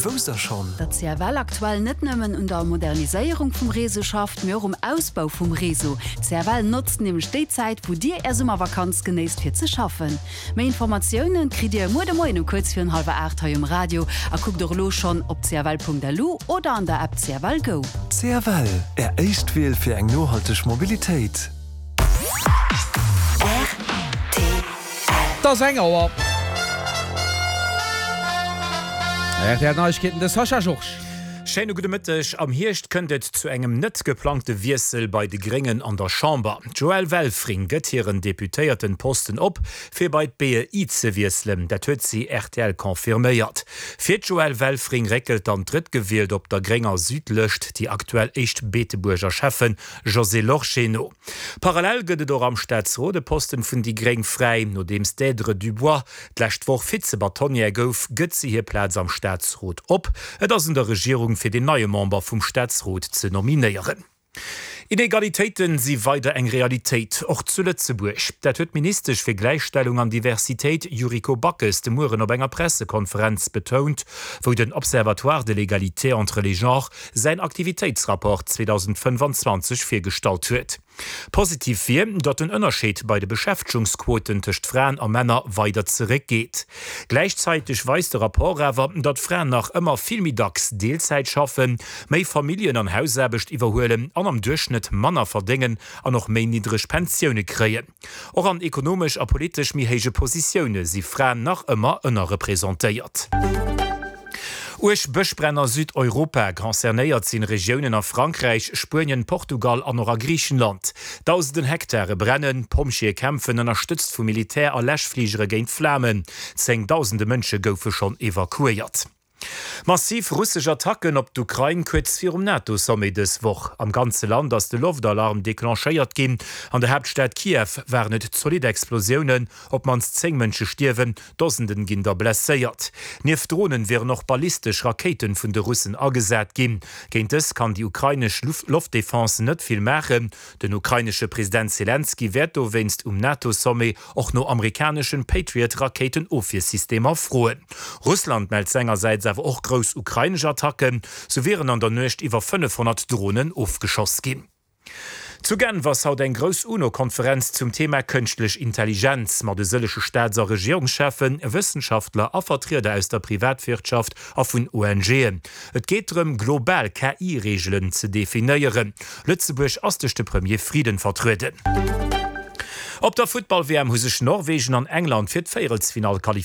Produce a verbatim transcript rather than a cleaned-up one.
Wousst der schonn? Datt C F L aktuell net nëmmen un der Moderniséierung vum Réseau schafft, mee och um Ausbau vum Réseau. C F L notzt nämlech déi Zäit, wou dir är Summervakanz genéisst, fir ze schaffen. Méi Informatioune kritt dir muer de Moien um kuerz virun hallwer aacht hei um Radio a kuckt och elo schonn op C F L Punkt L U oder an der App C F L Go. C F L, Är éischt Wiel fir eng nohalteg Mobilitéit. Et ass eng Auer. R T L Neiegkeeten, de Sascha Georges. Schéine gudde Mëtteg. Am Hierscht kënnt et zu engem net geplangte Wiessel bei de Gréngen an der Chamber. D'Joëlle Welfring gëtt hiren Deputéiertenposten op, fir bei d'B E I ze wiesselen. Dat huet si R T L confirméiert. Fir d'Joëlle Welfring réckelt dann drëttgewielt op der grénger Südlëscht déi aktuell éischt Beetebuerger Schäffen Josée Lorsché no. Parallel gëtt et och am Staatsrot e Posten vun déi Gréng fräi. Nodeems d'Deirdre Dubois d'lescht Woch Vize-Bâtonnière gouf, gëtt si hir Plaz am Staatsrot op. Et ass un der Regierung fir den neie Member vum Staatsrot ze nominéieren. Inegalitéiten si weider eng Realitéit, och zu Lëtzebuerg. Dat huet d'Ministesch fir Gläichstellung an Diversitéit Yuriko Backes de Mueren op enger Pressekonferenz betount, wou den Observatoire de l'égalité entre les genres säin Aktivitéitsrapport zweedausendfënnefanzwanzeg virgestallt huet. Positiv wier, datt den Ënnerscheed bei de Beschäftegungsquoten tëscht Fraen a Männer weider zeréckgeet. Gläichzäiteg weist de Rapport awer, datt Fraen nach ëmmer vill méi dacks Deelzäit schaffen, méi Familljen an Hausaarbecht iwwerhuelen an am Duerchschnëtt manner verdéngen an och méi niddreg Pensioune kréien. Och an ekonomesch a politesch méi héije Positioune si Fraen nach ëmmer ënnerrepresentéiert. Uerg Bëschbränn a Südeuropa, Concernéiert sinn Regiounen a Frankräich, Spuenien, Portugal an och a Griichenland. Dausenden Hektare brennen, Pompjeeë kämpfen ënnerstëtzt vu Militär a Läschfligere géint d'Flamen. Zéngdausende Mënsche goufe schonn evakuéiert. Massiv russesch Attacken op d'Ukrain kuerz virum NATO-Sommet dës Woch. Am ganze Land ass de Loftalarm declenchéiert ginn. An der Haaptstad Kiew waren et zolidd Explosiounen, op d'mannst zéng Mënsche stierwen, Dosenden ginn der blesséiert. Nieft Dronen wieren och ballistesch Rakéiten vun de Russen agesat ginn. Géint dës kann déi ukrainesch Loftdefense net vill maachen. Den ukrainesche President Selenskyj wäert dowéinst um NATO-Sommet och no amerikaneschen Patriot-Rakéitenofwiersystemer froen. Russland mellt sengersäits awer och grouss ukrainesch Attacken, sou wieren an der Nuecht iwwer fënnefhonnert Dronen ofgeschoss ginn. Zu Genf ass haut eng grouss UNO-Konferenz zum Thema kënschtlech Intelligenz mat e sëllege Staats a Regierungscheffen, Wëssenschaftler a Vertrieder aus der Privatwirtschaft a vun O N G'en. Et geet drëm, global K I-Reegelen ze definéieren. Lëtzebuerg ass duerch de Premier Frieden vertrueden. Op der Futtball-W M hu sech Norwegen an England fir d'Véierelsfinall qualifizéiert.